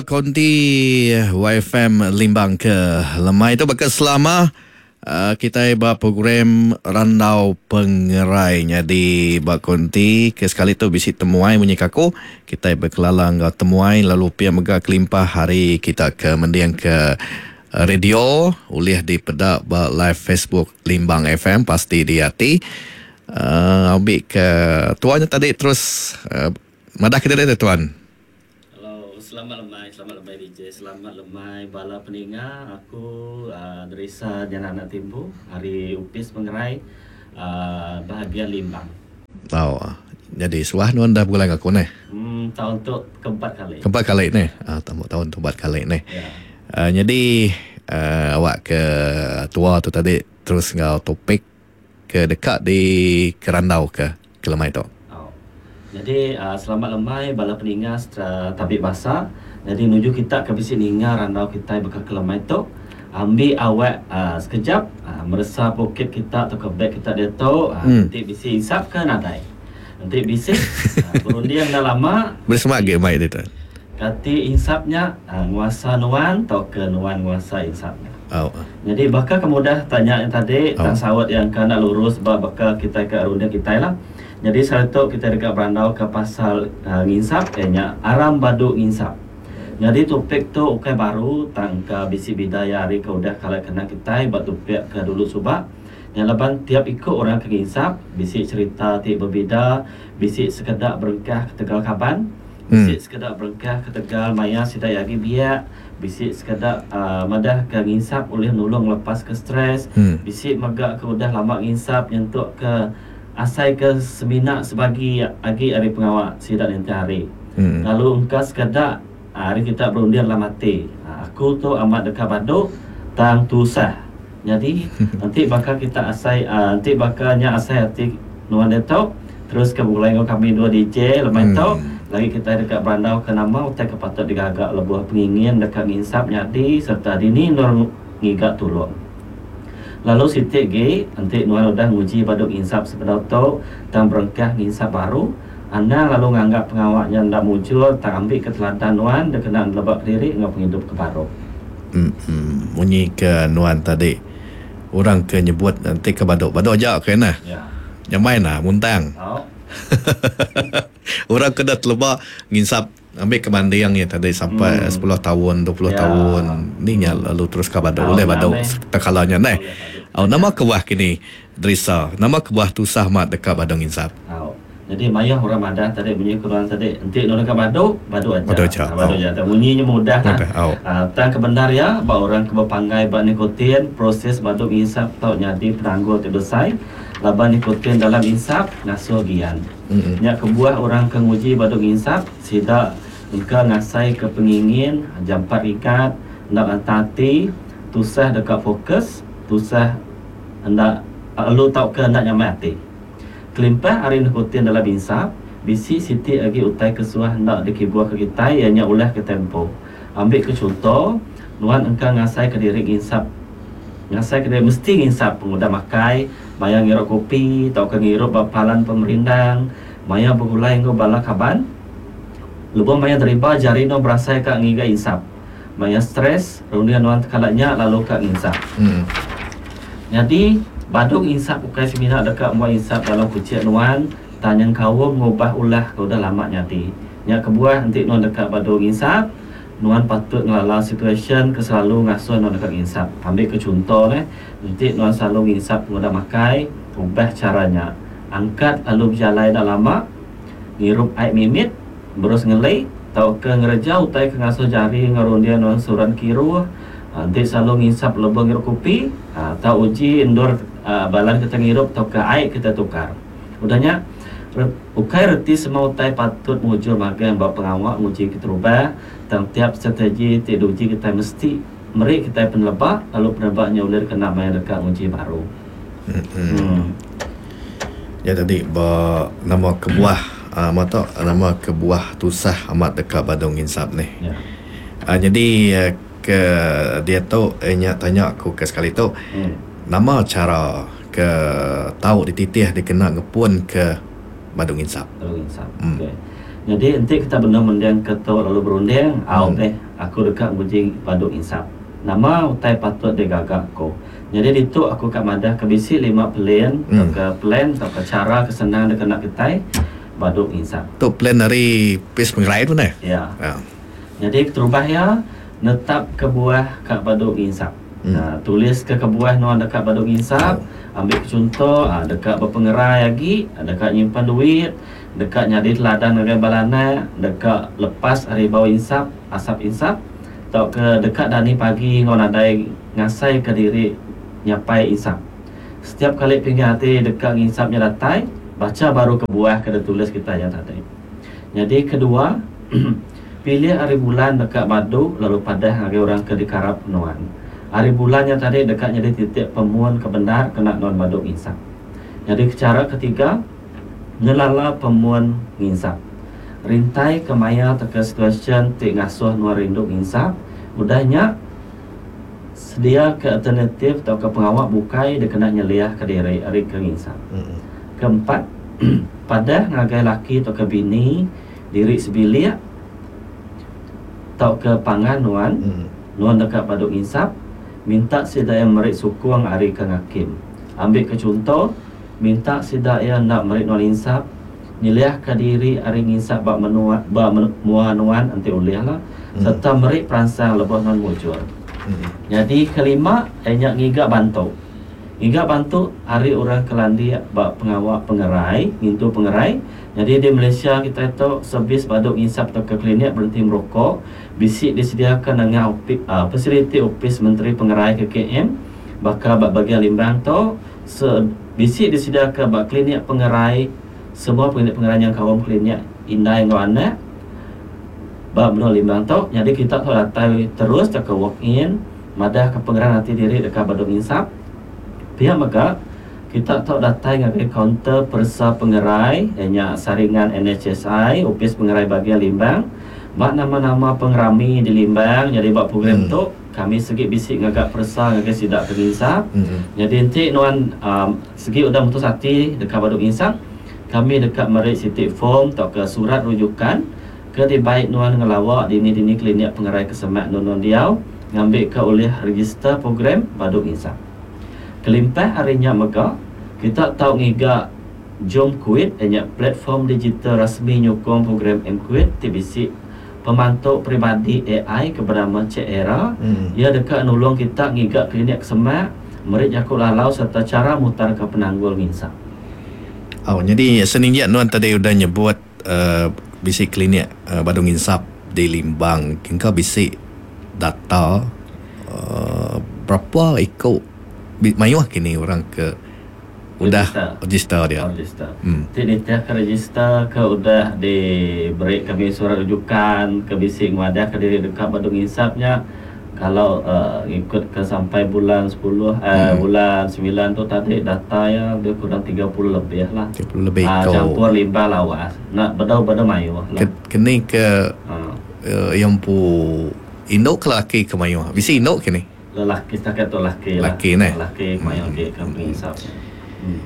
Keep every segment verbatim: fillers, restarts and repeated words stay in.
Konti Y F M Limbang ke lemai tu baka selama uh, kita ba program Randau Pengerai. Jadi ba konti ke sekali tu bisi temuai munyi kaku. Kita berkelala enggau temuai lalu pia mega kelimpah hari kita ke mending ke radio ulih dipeda ba live Facebook Limbang F M pasti di hati. Uh, ambil ke tuannya tadi terus uh, madah ke dia tuan. Hello, selamat lemai, selamat lemai D J, selamat lemai bala peninga. Aku uh, Derisa Jana Anak Timbu, hari Upis Pengerai uh, bahagian Limbang. Oh, jadi suah nuan dah bulan aku ni. Hmm, tahun tu keempat kali. Keempat kali ni. Ah, tahun tahun tu empat kali ni. Ya. Uh, jadi uh, awak ke tua tu tadi terus ngau topik ke dekat di Kerandau ke ke lemai tu. Oh. Jadi uh, selamat lemai bala peninga secara tabik bahasa. Jadi nuju kita ke bisi ninga randau kita bekal ke lemai tu. Ambil awak uh, sekejap uh, meresa poket kita atau ke beg kita dia tu uh, Hmm. nanti bisi insap ke nadai. Nanti bisi uh, berunding dah lama. Bersemak ge mai dia tu. Kati insapnya uh, nguasa nuan atau ke nuan nguasa insapnya. Oh. Jadi bakal kemudah tanya yang tadi Oh. tang sawat yang kena lurus ba bakal kita ke runding kita lah. Jadi satu kita dekat berandau ke pasal uh, nginsap kayaknya aram badu nginsap. Jadi topik tu ukai baru tangka bisi bidaya hari ke udah kalau kena kita buat topik ke dulu subak. Yang leban tiap ikut orang ke nginsap bisi cerita ti berbeda, bisi sekedak berengkah ke Tegal Kaban, bisi Hmm. sekedak berengkah ke Tegal Maya sida yagi biak, bisi sekedak uh, madah ke nginsap oleh nulung lepas ke stres, Hmm. bisi megak ke udah lama nginsap nyentuk ke asai ke semina sebagi agi hari pengawak sidak nanti hari. Hmm. Lalu engka sekedak hari kita berundian dalam hati. Aku tu amat dekat baduk tang tusah. Jadi nanti bakal kita asai uh, nanti bakalnya asai hati nuan detok terus ke mulai ngau kami dua D J lemai Hmm. tok lagi kita dekat berandau ke nama utai ke patut digagak lebuh pengingin dekat nginsap nyadi serta dini nur ngigak tulung. Lalu sitik ge nanti nuan udah nguji baduk nginsap sebedau tok tang berengkah nginsap baru anda lalu nganggap pengawaknya ndak muncul tang ambil ke teladan nuan dia kena lebak diri ngau penghidup ke baru. Hmm, hmm. Munyi ke nuan tadi orang ke nyebut nanti ke baduk baduk aja ke nah. Ya. Yang main lah muntang. Oh. Orang kena telebak nginsap ambil ke manding ya tadi sampai Hmm. sepuluh tahun, dua puluh Ya. tahun. Ni nya lalu terus ke baduk. Tahun Boleh baduk dah, meh. terkalanya neh. Boleh baduk. Oh, nama kebuah kini Drisa. Nama kebuah tusah mat dekat baduk nginsap. Oh. Jadi mayah orang madah tadi bunyi kurang tadi enti nak dekat baduk, baduk aja. Baduk aja. Ah, baduk Oh. aja. Tak bunyinya mudah lah. Mudah. Oh. Ah, tang kebenar ya, ba orang ke berpanggai ba nikotin, proses baduk nginsap tau nyadi penanggul ti besar. Laban nikotin dalam insap ngasuh gian. Mm-mm. Nya kebuah orang ke nguji baduk nginsap sida engka ngasai ke pengingin jampat ikat, ndak antati, tusah dekat fokus, tusah hendak lu tau ke hendak nyamai hati. Kelimpah hari nikotin dalam insap, bisi siti lagi utai kesuah hendak dikibuah ke kita ianya ulah ke tempo. Ambil ke contoh, nuan engka ngasai ke diri nginsap. Ngasai ke diri mesti nginsap pengudah makai, maya ngirup kopi, tau ke ngirup bapalan pemerindang, maya bergulai ngau bala kaban. Lebuh maya deriba jari no berasai ka ngiga insap. Maya stres, rundian nuan tekalaknya lalu ka nginsap. Hmm. Jadi baduk insap ukai semina dekat muat insap dalam kucik nuan, tanya kau ngubah ulah kau dah lama nyati. Nya kebuah nanti nuan dekat baduk insap, nuan patut ngelala situation ke selalu ngasuh nuan dekat insap. Ambil ke contoh neh, nanti nuan selalu nginsap pengudah makai, ubah caranya. Angkat lalu berjalan dah lama, ngirup air mimit, berus ngelai, tau ke ngereja utai ke ngasuh jari ngerundian nuan suran kiruh. Nanti selalu ngisap lebih ngirup kopi, ha, tau uji endur, ha, balan kita ngirup tau ke air kita tukar. Udahnya re-, ukai reti semua utai patut mujur magang bab pengawak nguji kita rubah tang tiap strategi ti diuji kita mesti meri kita penelebak lalu penelebaknya ulir kena main dekat nguji baru. Hmm. Hmm. Ya tadi ba nama kebuah uh, mata nama kebuah tusah amat dekat badung nginsap ni. Ya. Uh, jadi uh, ke dia tu eh, nya tanya aku ke sekali tu. Hmm. Nama cara ke tau dititih dikena ngepun ke badung insap. Badung insap. Hmm. Okey. Jadi enti kita benar mending ke tu lalu berunding, au Hmm. deh Aku deka nguji badu insap. Nama utai patut digaga aku? Jadi ditu aku ka madah ke bisi lima plan Hmm. tauka plan tauka cara ke senang dikena kitai badu insap. Tu plan ari Opis Pengerai tu neh. Ya. Ya. Jadi keterubah ya netap kebuah ka badu nginsap. Hmm. Nah, tulis ke kebuah nuan deka badu nginsap, ambil contoh ah, deka berpengerai lagi, deka nyimpan duit, deka nyadi teladan ngagai bala anak, deka lepas ari bau insap, asap insap, tauka deka dani pagi ngau nadai ngasai ke diri nyapai insap. Setiap kali pingin hati deka nginsapnya datai, baca baru kebuah ke ditulis kita yang tadi. Jadi kedua, pilih hari bulan deka badu lalu padah ngagai orang ke dikarap nuan. Hari bulan yang tadi deka jadi titik pemuan ke benar kena nuan badu nginsap. Jadi cara ketiga, ngelala pemuan nginsap. Rintai ke maya teka situasi ti ngasuh nuan rindu nginsap, udahnya sedia ke alternatif atau ke pengawak bukai dikena nyeliah ke diri ari ke nginsap. Hmm. Keempat, padah ngagai laki atau ke bini diri sebilik atau ke pangan nuan, Hmm. nuan deka badu nginsap, minta sida yang meri sukung ari ke ngakim. Ambil ke contoh, minta sida yang nak meri nuan insap, nyeliah ke diri ari nginsap ba menua ba mua nuan enti ulih lah, Hmm. serta meri peransang lebuh nuan mujur. Hmm. Jadi kelima, nya ngiga bantu. Ngiga bantu ari orang kelandik ba pengawak pengerai, ngintu pengerai. Jadi di Malaysia kita tu servis badu nginsap atau ke klinik berhenti merokok, bisi disediakan dengan opi, uh, fasiliti Opis Menteri Pengerai K K M, bakal ba bagian Limbang tu se, bisi disediakan ba klinik pengerai, semua klinik pengerai yang kaum klinik indai ngau anak ba menua Limbang tu. Jadi kita tu datai terus ke walk in, madah ke pengerai nanti diri dekat badu nginsap. Pihak mega kita tu datai ngagai kaunter peresa pengerai nya saringan N H S I Opis Pengerai Bagian Limbang ba nama-nama pengerami di Limbang. Jadi ba program Hmm. tu kami segi bisi ngagak peresa ngagai sidak ke nginsap. Hmm. Jadi enti nuan um, segi udah mutus hati dekat badu nginsap, kami dekat meri siti form atau ke surat rujukan ke dibaik nuan ngelawak dini-dini klinik pengerai kesemak nuan diau ngambil ke oleh register program badu nginsap. Kelimpah harinya mega kita tau ngiga Jom Quit nya platform digital rasmi nyukung program M-Quit T B C pemantau peribadi A I ke bernama Cik Era. Hmm. Ia dekat nulung kita ngiga klinik kesemak, meri jaku lalau serta cara mutar ke penanggul nginsap. Oh, jadi seninjak nuan tadi udah nyebut uh, bisi klinik uh, badu nginsap di Limbang. Kengka bisi data uh, berapa ikut mayuh kini orang ke udah register dia. Register. Hmm. Ti nitih ke register ke udah diberi kami surat rujukan ke bisi ngadah ke diri dekat badu nginsapnya. Kalau uh, ikut ke sampai bulan sepuluh, eh, Hmm. bulan sembilan tu tadi data ya lebih kurang tiga puluh lebih lah. tiga puluh lebih Ah, kau. campur limbah lawas. Nak bedau-bedau mayuh lah. Ke, kini ke Ah. uh, yang pu induk ke lelaki ke mayuh? Bisi induk kini? Lelaki setakat tu lelaki lah. Lelaki ne? Lelaki mayuh ke ke pengisap. Hmm.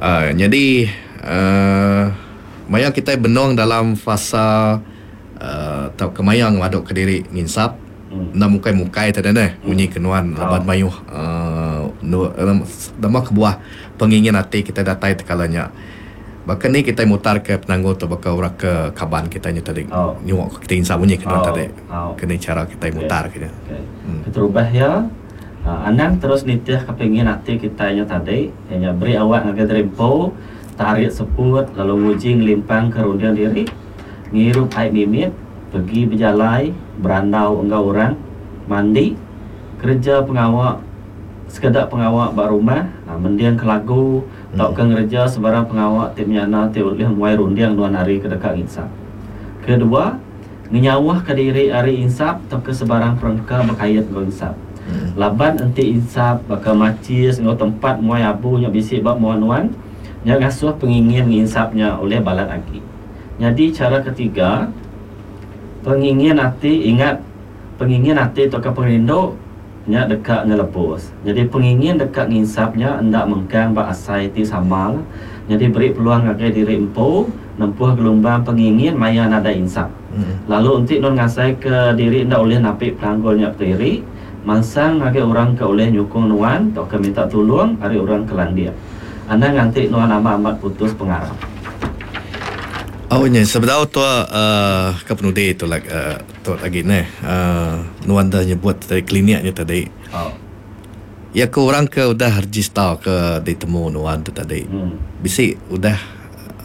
Uh, jadi uh, maya kita benong dalam fasa uh, tau kemayang waduk ke diri nginsap. Hmm. Nak mukai-mukai tadi neh, bunyi kenuan Oh. laban mayuh uh, nu, nama kebuah pengingin hati kita datai tekalanya. Bahkan ni kita mutar ke penanggul tu bakal orang ke kaban kita nya tadi. Oh. Nyuak kita insap bunyi kenuan Oh. tadi. Oh. Kena cara kita Okey. mutar ke dia. Okey. Hmm. Keterubah ya. Uh, anang terus nitih kepingin hati kita nya tadi, nya beri awak ngagai terimpo, tarik seput lalu nguji ngelimpang ke rundian diri, ngirup air mimit, pergi berjalai, berandau enggau orang, mandi, kerja pengawak, sekedar pengawak bak rumah, ha, mendiang ke lagu, Hmm. tau ke ngereja sebarang pengawak ti menyana ti ulih muai rundiang nuan hari ke dekat insap. Kedua, ngenyawah ke diri hari insap tau ke sebarang perengka berkait dengan insap. Hmm. Laban enti insap bakal macis ngau tempat muai abu nya bisi bak muan nuan, nya ngasuh pengingin nginsapnya oleh balat agi. Jadi cara ketiga, pengingin hati ingat pengingin hati atau ke pengerindu nya dekat ngelepus. Jadi pengingin dekat nginsapnya endak mengkang bak asai ti sama lah. Jadi beri peluang ngagai diri empu nempuh gelombang pengingin maya nada insap. Hmm. Lalu enti nuan ngasai ke diri enda ulih napi penanggul nya kediri, mansang ngagai orang ke ulih nyukung nuan tauka minta tulung ari orang ke landik. Anang nganti nuan amat-amat putus pengarap. Oh nya sebedau tu uh, ke penudi tu lagi uh, tu lagi neh uh, nuan dah nyebut tadi kliniknya tadi. Oh. Ya ke orang ke udah register ke ditemu nuan tu tadi. Hmm. Bisi udah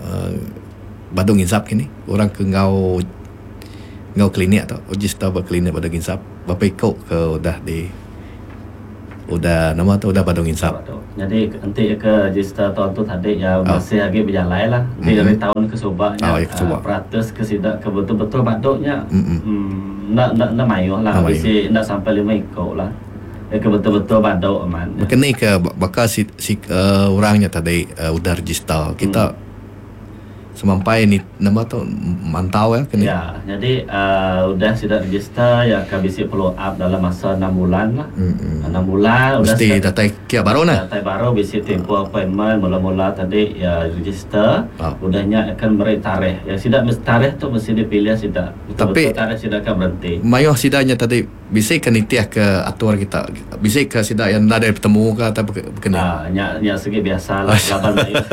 uh, badu nginsap kini orang ke ngau ngau klinik tu register ba klinik badu nginsap berapa iko ke udah di udah nama tu udah badu nginsap. Jadi enti ke register tahun tu tadi ya Oh. masih lagi berjalan lah. Enti Mm-mm. dari tahun ke subaknya Oh, ya, ke subak. uh, peratus ke sidak ke betul-betul baduknya. Mm-mm. Hmm, nak nak nak mayuh lah. Nak mayuh. Bisi nak sampai lima iko lah. Ya ke betul-betul baduk aman. Macam ni ke bakal si, si uh, orangnya tadi uh, udah register kita Hmm. semampai ni nama tu mantau ya kini. Ya, jadi uh, udah sudah register ya akan bisi follow up dalam masa enam bulan lah. Mm-mm. enam bulan udah Mesti siap- datai kia baru nah. Datai baru bisi tempoh appointment mula-mula tadi ya register. Ah. Udahnya akan beri tarikh. Ya sidak mesti tarikh tu mesti dipilih sidak. Tapi- Betul-betul tarikh sidak akan berhenti. Mayuh sidanya tadi bisi ke nitiah ke atur kita. Bisi ke sidak yang dah ada bertemu ke atau berkena. Ah, nya nya segi biasa lah laban mayuh.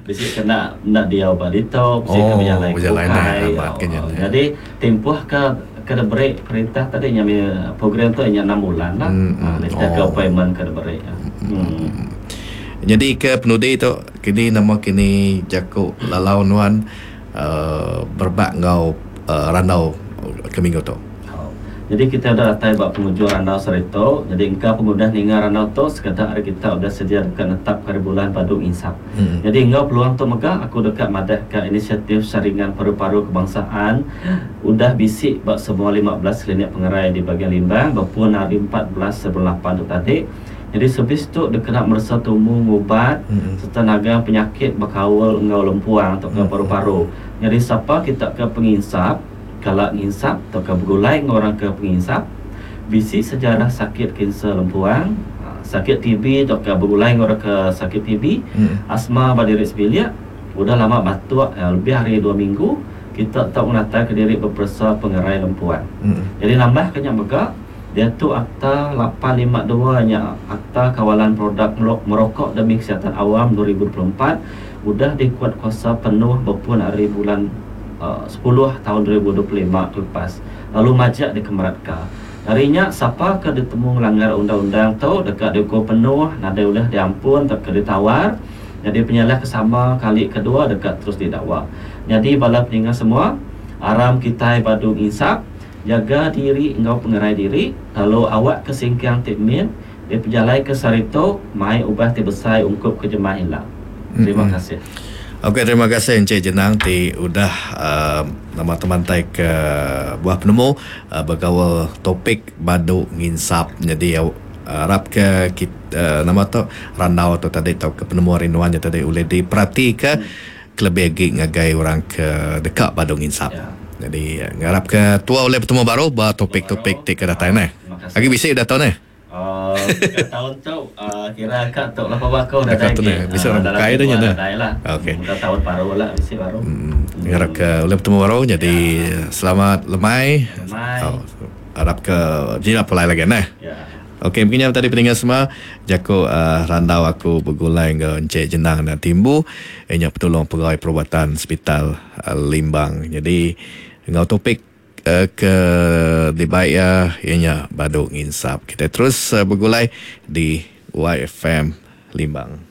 Bisi kena nak dia badito, bisi Oh, ke berjalan berjalan kukai. lah, amat Oh, kenya lah. Jadi tempoh ke ke beri perintah tadi nya program tu nya enam bulan lah. Hmm, Ah, hmm. nitiah ke Oh. appointment ke beri. Hmm. Jadi ke penudi tu kini nama kini jaku lalau nuan uh, berbak ngau uh, randau ke minggu tu. Oh. Jadi kita dah datai buat penghujung randau serito. Jadi engkau pengudah ninga randau tu sekadar hari kita udah sedia dekat netap hari bulan padu insaf. Hmm. Jadi engkau peluang tu megah aku dekat madah ke inisiatif saringan paru-paru kebangsaan udah bisik bak semua lima belas klinik pengerai di bahagian Limbang berpun hari empat belas sebelum lapan tu tadi. Jadi servis tu dia kena merasa tumu ngubat Mm-mm. serta naga penyakit berkawal engkau lempuang atau ke Mm. paru-paru. Jadi siapa kita ke penginsap, kalau nginsap atau ke bergulai dengan orang ke penginsap, bisi sejarah sakit kanser lempuang, ha, sakit T B atau ke bergulai dengan orang ke sakit T B, Mm. asma pada diri sebilik, udah lama batuk ya, lebih hari dua minggu, kita tak menatai ke diri berpersa pengerai lempuang. Mm. Jadi nambah kenyang megak, dia tu Akta lapan lima dua nya Akta Kawalan Produk Merokok Demi Kesihatan Awam dua ribu dua puluh empat udah dikuat kuasa penuh berpun hari bulan uh, sepuluh tahun dua ribu dua puluh lima lepas. Lalu majak dikemeratka. Darinya siapa ke ditemu melanggar undang-undang tu dekat dihukum penuh, nadai ulah diampun tak ke ditawar. Jadi penyalah kesama kali kedua dekat terus didakwa. Jadi bala peningat semua, aram kita badung insaf, jaga diri engkau pengerai diri, lalu awak ke singkang tikmin, dia berjalan ke sarito, mai ubah ti besai ungkup ke jemaah hilang. Terima Mm-mm. kasih. Okey, terima kasih Encik Jenang ti udah uh, nama teman tai ke buah penemu uh, bergaul topik badu nginsap. Jadi uh, harap ke kita, uh, nama tu randau tu tadi tau ke penemu rinduan tadi boleh diperhati ke Hmm. kelebih lagi ngagai orang ke dekat badu nginsap. Ya. Jadi ngarap ke tua oleh bertemu baru ba topik-topik ti ke datang neh. Terima kasih. Lagi bisi dah tahu neh. Uh, tahun tu uh, kira kak tok lah apa kau dah Dekat tu lagi. ni, bisa Ah, orang dalam bukai dah mingguan nya dah. dah lah. Okey. Dah tahun baru lah, bisi baru. Hmm, ngarap ke oleh bertemu baru. Jadi Ya. selamat lemai. Lemai. Oh, harap ke jinak pulai lagi neh. Ya. Okey, mungkin yang tadi pendengar semua, jako uh, randau aku bergulai dengan Encik Jenang dan Timbu, ianya petolong pegawai perubatan Hospital uh, Limbang. Jadi dengan topik uh, ke dibaik ya, ianya baduk nginsap. Kita terus uh, bergulai di Y F M Limbang.